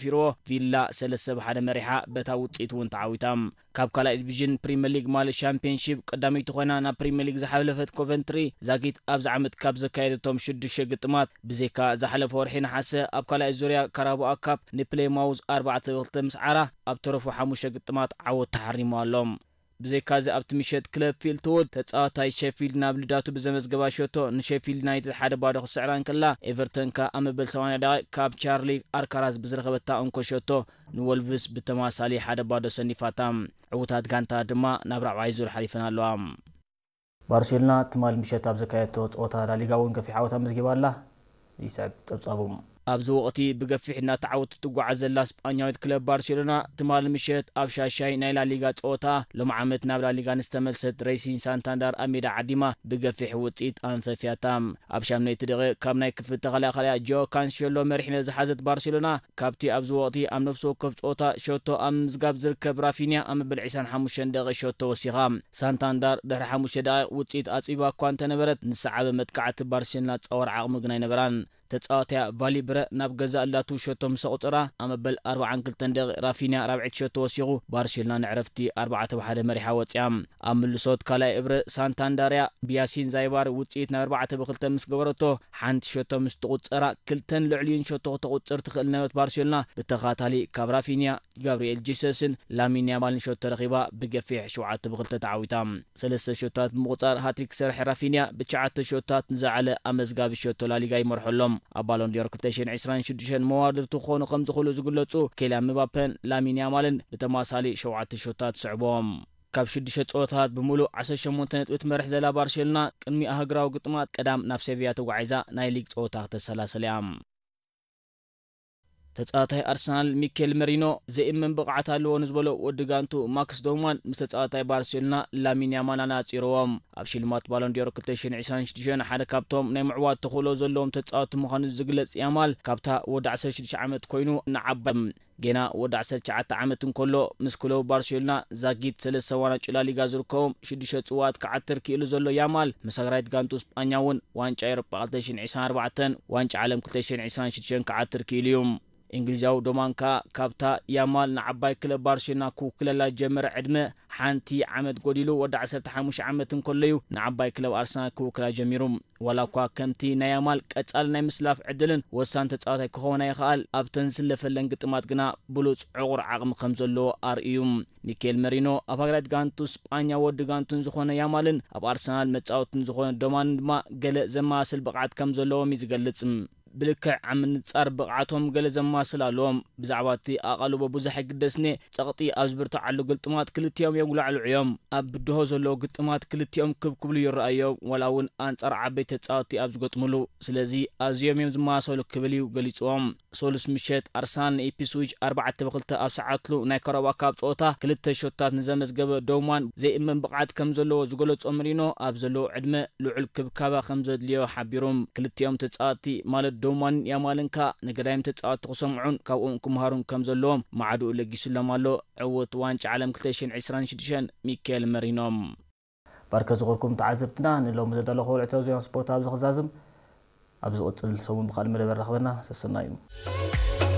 ፊርዎ ቪላ ሰለስተ ብ ሓደ መሪሓ በታ ውጽኢት እውን ተዓዊታ። ካብ ካልኣይ ዲቪዥን ፕሪምየር ሊግ ማለት ሻምፒዮንሺፕ ቀዳመይቲ ኮይና ናብ ፕሪምየር ሊግ ዝሓለፈት ኮቨንትሪ ዛጊት ኣብዚ ዓመት ካብ ዘካየደቶም ሽዱሽተ ግጥማት ብዘይካ ዝሓለፈ ወርሒ ነሓሰ ኣብ ካልኣይ ዙርያ ካራቦኣ ካፕ ንፕሌማውዝ ኣርባዕተ ብ ክልተ ምስ ዓራ ኣብ ተረፉ ሓሙሽተ ግጥማት ዓወት ተሓሪሙ ኣሎ። ብዘይካዚ ኣብቲ ምሸት ክለብ ፊልትውድ ተጻዋታይ ሸፊልድ ናብ ልዳቱ ብዘመዝገባ ሸቶ ንሸፊልድ ዩናይትድ ሓደ ባዶ ክስዕራ እንከላ ኤቨርተን ከኣ ኣብ መበል ሰማንያ ደቂቕ ካብ ቻርሊ ኣርካራዝ ብዝረኸበታ እንኮ ሸቶ ንወልቭስ ብተማሳሊ ሓደ ባዶ ሰኒፋታ። ዕዉታት ጋንታ ድማ ናብ ራብዓይ ዙር ሓሊፈን ኣለዋ። ባርሴሎና ትማል ምሸት ኣብ ዘካየቶ ጸወታ ላሊጋ እውን ገፊሕ ዓወት ኣመዝጊባ ኣላ። ይስዕብ ጸብጻቡ። ኣብዚ ወቕቲ ብገፊሕ እናተዓወተት ትጓዓዝ ዘላ ስጳኛዊት ክለብ ባርሴሎና ትማል ምሸት ኣብ ሻሻይ ናይ ላሊጋ ጸወታ ሎም ዓመት ናብ ላሊጋ ንዝተመልሰት ሬሲን ሳንታንዳር ኣብ ሜዳ ዓዲማ ብገፊሕ ውጽኢት ኣንፈፍያታ። ኣብ ሻምነይቲ ደቂቕ ካብ ናይ ክፍል ተኸላኻሊያ ጆ ካንሴሎ መሪሕነት ዝሓዘት ባርሴሎና ካብቲ ኣብዚ ወቕቲ ኣብ ነፍሲ ወከፍ ጸወታ ሸቶ ኣብ ምዝጋብ ዝርከብ ራፊንያ ኣብ መበል ዕስራን ሓሙሽተን ደቂቕ ሸቶ ወሲኻ። ሳንታንዳር ድሕሪ ሓሙሽተ ደቂቕ ውጽኢት ኣጽቢባ እኳ እንተነበረት ንሰዓበ መጥቃዕቲ ባርሴሎና ጸወር ዓቕሚ ግን ኣይነበራን። ተጻዋትያ ቫሊብረ ናብ ገዛእ ላቱ ሸቶ ምስ ኣቑጸራ ኣብ መበል ኣርባዓን ክልተን ደቂቕ ራፊንያ ራብዐይቲ ሸቶ ወሲኹ ባርሴሎና ንዕረፍቲ ኣርባዕተ ብ ሓደ መሪሓ ወጺኣ። ኣብ ምልሶት ካልኣይ እብረ ሳንታንዳርያ ብያሲን ዛይባር ውጽኢት ናብ ኣርባዕተ ብ ክልተ ምስ ገበረቶ ሓንቲ ሸቶ ምስ ትቑጸራ ክልተን ልዕሊኡን ሸቶ ክተቑጽር ትኽእል ነበረት ባርሴሎና ብተኻታሊ ካብ ራፊንያ ጋብሪኤል ጂሰስን ላሚን ያማልን ሸቶ ረኺባ ብገፊሕ ሸውዓተ ብ ክልተ ተዓዊታ። ሰለስተ ሸቶታት ብምቑጻር ሃትሪክ ዝሰርሐ ራፊንያ ብትሽዓተ ሸቶታት ንዝለዓለ ኣመዝጋቢ ሸቶ ላሊጋ ይመርሑ ኣሎም። ኣብ ባሎን ዲዮር ክልተ ሽሕን ዕስራን ሽዱሽተን መዋድርቱ ክኾኑ ከም ዝኽእሉ ዝግለጹ ኬልያን ምባፐን ላሚን ያማልን ብተማሳሊ ሸውዓተ ሸቶታት ይስዕብዎም። ካብ ሽዱሽተ ጸወታታት ብምሉእ ዓሰርተ ሸሞንተ ነጥቢ ትመርሕ ዘላ ባርሴሎና ቅድሚ ኣህግራዊ ግጥማት ቀዳም ናብ ሴቪያ ተጓዒዛ ናይ ሊግ ጸወታ ክተሰላስል እያ። ተጻዋታይ ኣርሰናል ሚኬል መሪኖ ዘይእመን ብቕዓት ኣለዎ ንዝበሎ ወዲ ጋንቱ ማክስ ዶማን ምስ ተጻዋታይ ባርሴሎና ላሚን ያማል ኣነጻጺርዎም። ኣብ ሽልማት ባሎን ዲዮር ክልተ ሽሕን ዕስራን ሽዱሽተን ሓደ ካብቶም ናይ ምዕዋት ተኽእሎ ዘለዎም ተጻወቲ ምዃኑ ዝግለጽ ያማል ካብታ ወዲ ዓሰርተ ሽዱሽተ ዓመት ኮይኑ ንዓባይ ጌና ወዲ ዓሰርተ ትሽዓተ ዓመት እንከሎ ምስ ክለቡ ባርሴሎና ዛጊት ሰለስተ ዋንጫ ላሊጋ ዝርከቦም ሽዱሽተ ጽዋት ክዓትር ክኢሉ ዘሎ ያማል ምስ ሃገራዊት ጋንቱ ስጳኛ እውን ዋንጫ ኤውሮጳ ክልተ ሽሕን ዕስራን ኣርባዕተን ዋንጫ ዓለም ክልተ ሽሕን ዕስራን ሽዱሽተን ክዓትር ክኢሉ እዩ። እንግሊዛዊ ዶማን ከኣ ካብታ ያማል ንዓባይ ክለብ ባርሴሎና ክውክለላ ዝጀመረ ዕድመ ሓንቲ ዓመት ጎዲሉ ወዲ ዓሰርተ ሓሙሽተ ዓመት እንከሎ እዩ ንዓባይ ክለብ ኣርሰናል ክውክላ ጀሚሩ። ዋላ እኳ ከምቲ ናይ ያማል ቀጻሊ ናይ ምስላፍ ዕድልን ወሳኒ ተጻዋታይ ክኸውን ኣይኸኣል፣ ኣብተን ዝስለፈለን ግጥማት ግና ብሉጽ ዕቑር ዓቕሚ ከም ዘለዎ ኣርእዩ። ሚኬል መሪኖ ኣብ ሃገራዊት ጋንቱ ስጳኛ ወዲ ጋንቱን ዝኾነ ያማልን ኣብ ኣርሰናል መጻወትን ዝኾነ ዶማንን ድማ ገለ ዘመሳስል ብቕዓት ከም ዘለዎም እዩ ዝገልጽ። ብልክዕ ኣብ ምንጻር ብቕዓቶም ገለ ዘመሳስል ኣለዎም። ብዛዕባ እቲ ኣቓልቦ ብዙሕ ኣይግደስን እየ። ጸቕጢ ኣብ ዝብርትዓሉ ግጥማት ክልቲኦም የጉላዕልዑ እዮም። ኣብ ብድሆ ዘለዉ ግጥማት ክልቲኦም ክብ ክብሉ ይረኣዩ እዮም፣ ዋላ እውን ኣንጻር ዓበይቲ ተጻወትቲ ኣብ ዝገጥምሉ። ስለዚ ኣዝዮም እዮም ዝመሳሰሉ ክብል እዩ ገሊጽዎም። ሰሉስ ምሸት ኣርሰናል ንኢፕስዊች ኣርባዕተ ብ ክልተ ኣብ ሰዓትሉ ናይ ካራባኦ ካፕ ጸወታ ክልተ ሸቶታት ንዘመዝገበ ዶማን ዘይእመን ብቕዓት ከም ዘለዎ ዝገለጾ መሪኖ ኣብ ዘለዎ ዕድመ ልዑል ክብካባ ከም ዘድልዮ ሓቢሩ። ክልቲኦም ተጻወትቲ ማለት ዶማንን ያማልን ከኣ ንገዳይም ተጻወትቲ ክሰምዑን ካብኦም ክመሃሩን ከም ዘለዎም ማዕድኡ ለጊሱሎም ኣሎ ዕዉት ዋንጫ ዓለም ክልተ ሽሕን ዕስራን ሽዱሽተን ሚካኤል መሪኖ። ባርከ ዝኸርኩም ተዓዘብትና ንሎሚ ዘዳለኹ ውዕቶ ዜና ስፖርት ኣብዚ ክዛዝም። ኣብ ዝቕጽል ሰሙን ብኻልእ መደበር ራኽበና። ሰሰናዩ።